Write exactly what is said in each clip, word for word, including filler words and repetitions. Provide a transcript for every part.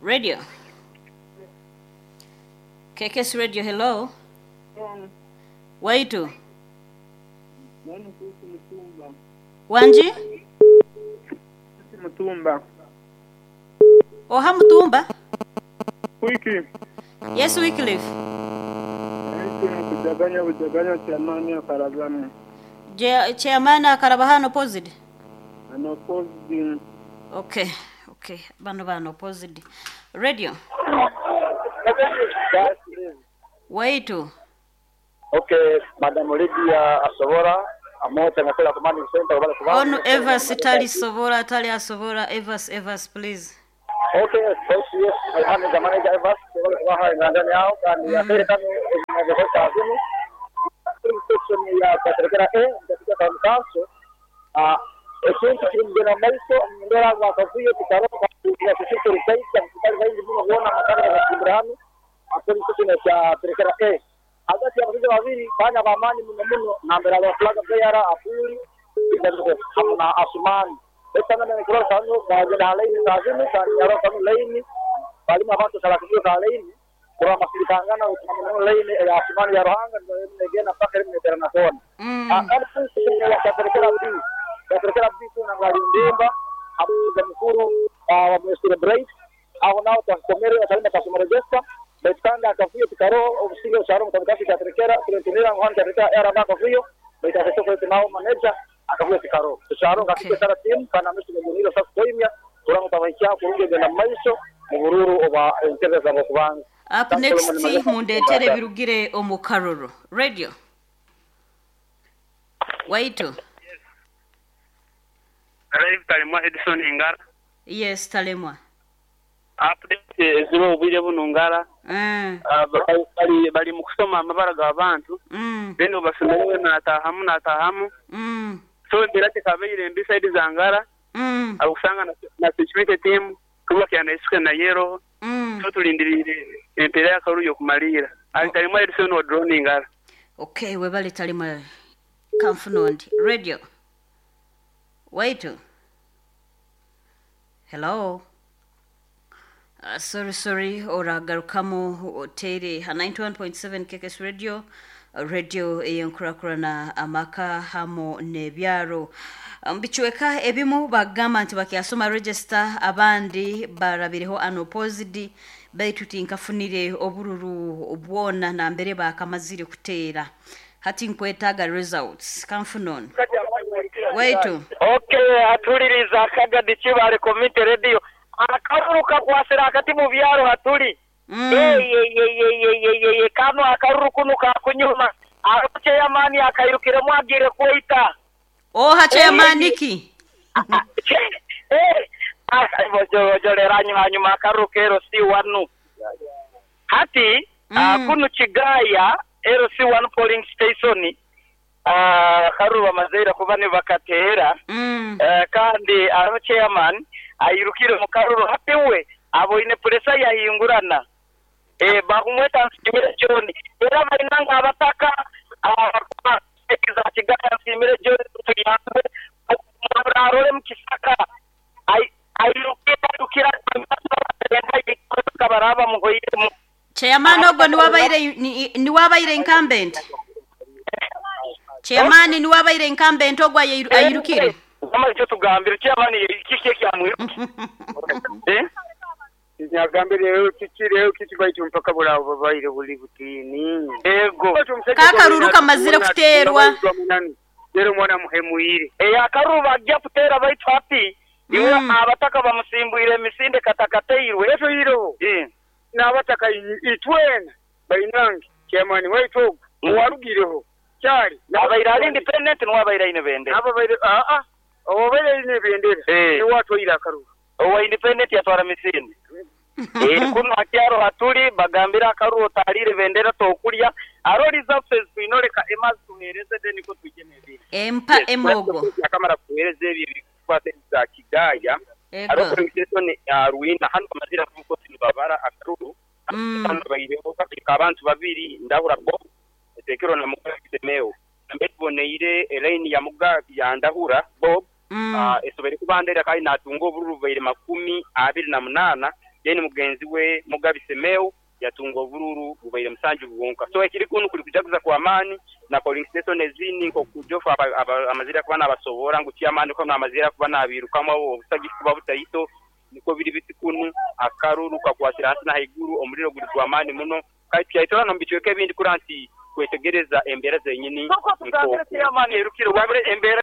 Radio K K S Radio, hello. Waitu. Wanji? Mutumba. Oha Mutumba? Wiki. Yes, Wycliffe. Kujaganya bujaganya chairman akarabano. Je, chairman akaraba hano opposite? Ano opposite. Okay, okay. Bano bano opposite. Radio. Waitu. Okay, Madam Lydia Asobora, amote nakola command center wala kuba. Onu Evas tali sobora tali asobora Evas Evas, please. Okay, yes, yes, I am the manager Evas, wala kuba hai ngandani yao kandi ya pere kanu inazokosa azimu. Section ya katerekera A katika town council. Ah, ekintu kiri mugenda maiso ndora wakavuye kitaroka ya sisi rukaita mkutano zaidi muno kuona makana ya Ibrahim akoli sisi cha terekera A hagati ya abasajja babiri bana bamaanyi muno muno nambera ba flag bearer apuli na Asumani etana na nikora kanu bagenda laini tazimu kandi yaro kanu laini balimu abantu salakio ka laini kura masirikangana utamana laini ya Asumani ya Ruhanga negena paka rimwe na kona akali sisi ya terekera B terekera B kuna ngalindimba abuza mukuru wa Mister Bright aho naho twakomere akalina kasoma register baitanda akavuyo tikaro obusinge osharo mutabikasi katerekera tulentunira ng'ohani katerekera era ba akavuyo baitafeso kwetu nao manager akavuyo tikaro tusharo ngakike sara team kana misu ngoniro sasa koimya kurango tabaikia kurunge genda maiso mubururu oba entebe za bokubanga. Up next mundetere birugire omukaroro. Radio. Waitu. Live Talemwa Edison Ngara. Yes, Talemwa. Update zero obwire buno Ngara. Mm. Bali bali mu kusoma amabara g'abantu. Mm. Then obasomerewe natahamu natahamu. Mm. So ndera tekabeire mbi side za Ngara. Mm. Akusanga na, na security team kuba kyana isuke na yero. Mm. So tulindirire empera yakaruyo kumalira. Ali Talemwa Edison wa drone Ngara. Okay, webale Talemwa Kamfunondi. Radio. Waitu. Hello. Uh, sorry, sorry, oragarukamu otere ha ninety-one point seven K K S Radio, radio eyenkurakurana amaka hamo nebyaro. Mbichweka ebimu bagamba nti bakyasoma register abandi barabireho unopposed baitu tinkafunire obururu obwona na mbere bakamazire kuteera. Hati nkwetaga results kamfunon. Waitu. Okay, atuliriza akagadi kibale community radio. Akaruru kakwasira akati mu byaro hatuli. Mm. Ye ye ye ye ye ye ye kano akaruru kunu kakunyuma. Aruche yamani akairukiremu agire kuita. Oh, hache yamani ki? Eh, ojolera nyuma nyuma akaruru kero si wanu. Hati mm. uh, kunu Kigaya L C one polling station. Ah, uh, bamazeira kuba ne bakateera. Mm. Uh, kandi aro chairman ayirukire mu karuru hapiwe aboine pressure yahingurana eh bakumweta Nsimire John era balinanga abataka abakiza Kigaya Nsimire John tuyambe murarole mu kisaka ayirukira ayirukira kabaraba muhoyiremu chairman ogwo niwabaire niwabaire incumbent. Chairman niwabaire incumbent ogwo ayirukire. Kama icyo tugambira chairman kiki kyamwiruki. Eh? Nyagambire rero kiki rero kiki baitu mpaka bulabo babaire buli butini. Ego. Kakaruru kamazire kuterwa. Rero mwana muhemuire. Eh akaruru bajya kutera baitu hapi. Iwe abataka bamusimbuire emisinde katakateirwe. Eto yiro. Eh. N'abataka itwena bainange chairman waitu muwarugireho. Kyali abaire ali independent n'abaire ine bendera. Abaire a a obaire ine bendera. Eh. Niwatwaire akaruru. Owa independent yatwara misinde. Eh kuno akyaro hatuli bagambira akaruru otalire bendera tokulya aro reserves tuinoreka emazi tuhereze then ko tukeneye. Empa emogo. Akamara kuhereze ebi bikwate za Kigaya. Aro polling ya Ruina hano amazira kuko tinubabara akaruru. Mm. Bayireho abantu babiri ndahura bo tekero na mugabo kitemeo. Nambe tuboneire elaini ya muga ya ndahura Bob Mm. uh, esobere kubandera kandi natunga obururu bubaire makumi abiri na munana then mugenzi we Mugabi Semeo yatunga obururu bubaire musanju bwonka. So ekiri kunu kuli kujaguza kwa amani na polling station ezini nko kujofa amazira kuba nabasobora ngu chairman ko namazira kuba nabirukamu obusagi kuba butaito niko biri biti kunu akaruru kakwatira hasi na haiguru omuliro guli kwa amani muno kai tyaitola no mbicweke ebindi kuranti kwetegereza embera zenyini nko chairman yerukire wabire embera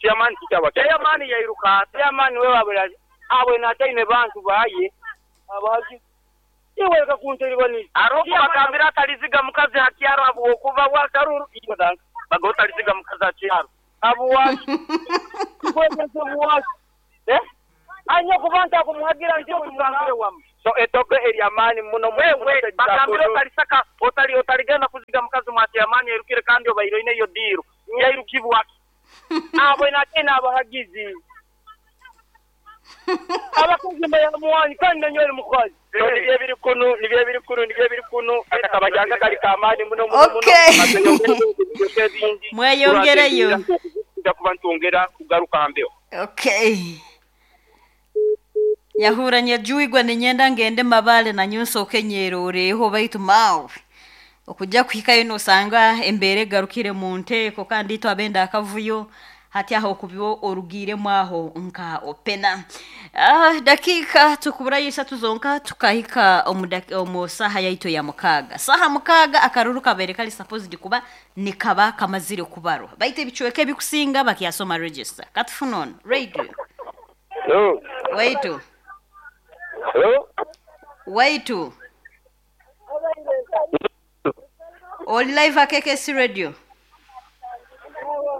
chairman kitawa chairman yairuka chairman we wabira abwe nataine bantu baye abaji iwe kakunteri bani aroko bakambira ataliziga mukazi hakyaro abo okuva wa karuru iyo danka bagota aliziga mukazi hakyaro abo wachi kwegeze wachi eh anya kubanta kumuhagira ndio kumugambire wamu so etoke eryamani muno wewe bakambira otalisaka otali otaligenda kuziga mukazi mwati amani erukire kandi obairo ine yo diro yairukibwa abo inatena abahagizi abakozi bayamuwani kandi nanywere mukazi so nibye biri kunu nibye biri kunu nibye biri kunu akabajanga kali kamani muno muno muno okay mweyongereyo kuba ntongera kugaruka mbeo okay yahuranye juigwa ninyenda ngende mabale na nyunsoke nyeroreho baitu mawe okujja kuhikayo nosanga embere garukire mu nteeko kandi twabenda akavuyo hati aho kubyo orugire mwaho nka opena. Ah, dakika tukubura yisatu zonka tukahika omu saha yaito ya mukaga saha mukaga akaruru kabere kali supposed kuba nikaba kamazire kubarwa baite ebicweke ebikusinga bakiyasoma register katufunon radio. Hello. Waitu. Hello. Waitu. Oli live akekesi radio.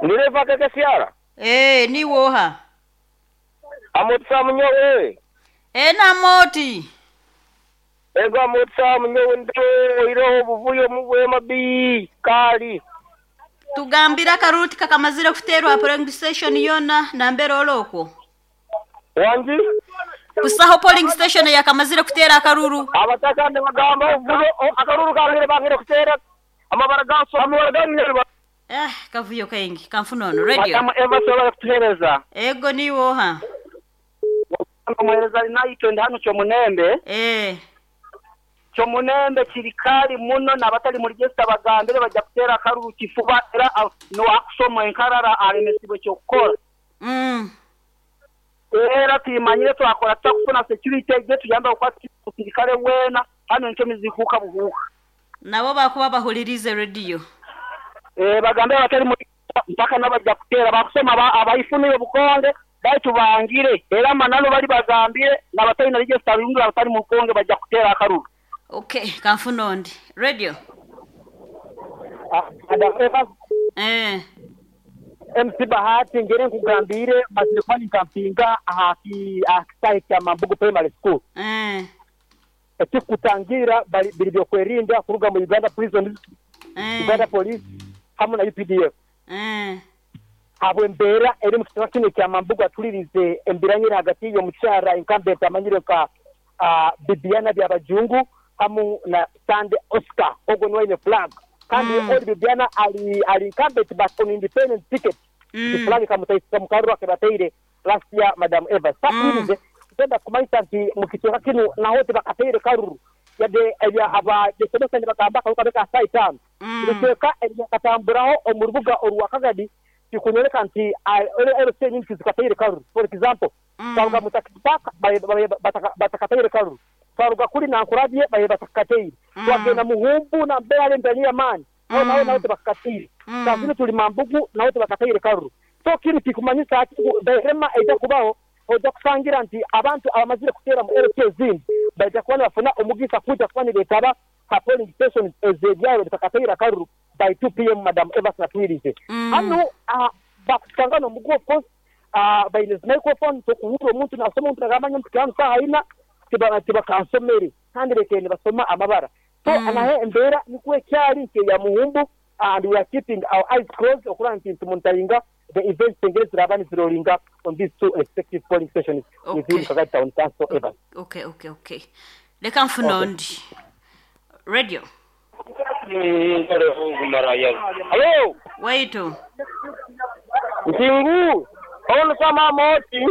Ndire akekesi ara. Eh, ni woha. Amotsa munyowe. Eh na moti. Ego amotsa munyowe ndo iro buvuyo mubwe mabi kali. Tugambira karuti kakamazira kuterwa polling station yona na mbere oloko. Wanji kusaho polling station yakamazira kutera akaruru abataka ne bagamba uvuyo akaruru kangire bangire kutera amabara ganso amabara ganire eh kavuyo kaingi kamfunono radio matamu eva sola kutuhereza ego niwo ha muhereza naito ndano cyo munembe eh cyo munembe kirikali muno nabatali muri gesta bagambire bajya kutera akaruru kifuba era no akusoma enkarara alemesibo cyo kukora mm era timanyire twakora tukufuna security je tuyamba ukwati kirikale wena hano ncho mizihuka buhuka nabo bakuba bahulirize radio eh bagambe batali muri mpaka nabajya kutera bakusoma abayifuniye bukonge baitu bangire era manano bali bagambire nabatali na register yungura batali mu bukonge bajya kutera akaruru okay kamfunondi radio ah madam eh M C Bahati ngere nkugambire mazirikani nkampinga ahaki akisite ya Mambugu Primary School eh ekikutangira biri byokwerinda kuruga mu Uganda Prison eh. Uganda Police hamwe na U P D F eh abo embera eri mu kitaka kino kya Mambugu atulirize embiranyira hagati yo mukyara incumbent amanyire ka uh, Bibiana Byabajungu hamu na Sande Oscar ogo nwaine flag kandi mm. Oli Bibiana ali ali incumbent but on independent ticket mm. The flag kamutaisa mukaruru akebataire last year Madam Eva sakurize mm. Tenda kumaita nti mukitoka kino na hote bakateire karuru yade ebya aba desomesa ni bakamba kabeka saitano mm. Biteka ebyakatamburaho omurubuga oruwakagadi kikunyoleka nti L C nyingi zikateire karuru for example mm. Twaruga mutakipaka batakateire karuru twaruga kuri nankurabye baye batakateire mm. Twagenda muhumbu na mbere ndani ya mani mm. Naho naho bakatire mm. Tazini tuli Mambugu naho bakatire karuru so kiri kikumanyisa ati berema ejja kubaho ojja kusangira nti abantu abamazire kutera mu L C zindi bajja kubona bafuna omugisa kuja kuba nibeetaba ha polling station ezebyaro bitakatira karuru by two p m Madam Eva Natwirize mm. Hano uh, bakusangana omugu of course uh, baine microphone tokuwura omuntu nasoma omuntu nagamanya omuntu saha ina tiba tibakansomere kandi lekene basoma amabara so mm. Anahe embera nikwe kyali nke ya muhumbu and we are keeping our eyes closed okura nti tumonitoringa the events engezi rabani zirolinga on these two respective polling stations okay. Within Kagadi Town Council Evans. Okay okay okay leka mfunondi okay. Radio Hello Waitu Ntingu Ono sama moti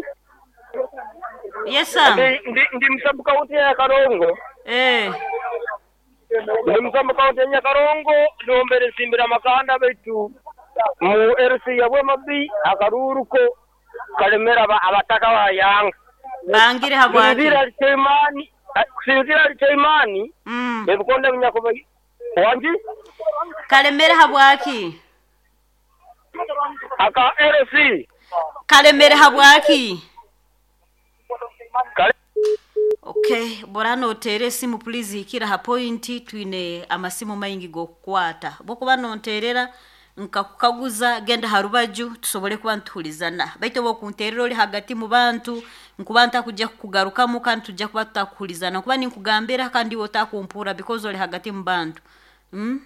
Yes sir. ndi ndi ndi musabu kaunti ya Karongo. Eh. Ndi musabu kaunti ya Karongo nombere simbira makanda baitu mu L C ya Bwema B akaruruko kalemera aba- abataka ba Yanga. Bangire habwaki? Kusinzira Licheimani, kusinzira Licheimani Mm. ebikonde binyakuba wangi. Kalemere habwaki? Aka L C. Kalemere habwaki? Kale. Okay, bora noteera esimu please hikira ha point, twine amasimu maingi g'okukwata. Bwokuba nonteerera nkakukaguza, genda ha rubaju tusobole kuba nituhulizana, baitu oba okunteerera oli hagati mu bantu nkuba ntakujja kukugarukamu kandi tujja kuba tutakuhulizana, nkuba ninkugambira kandi iwe otakumpura because oli hagati mu bantu, mm?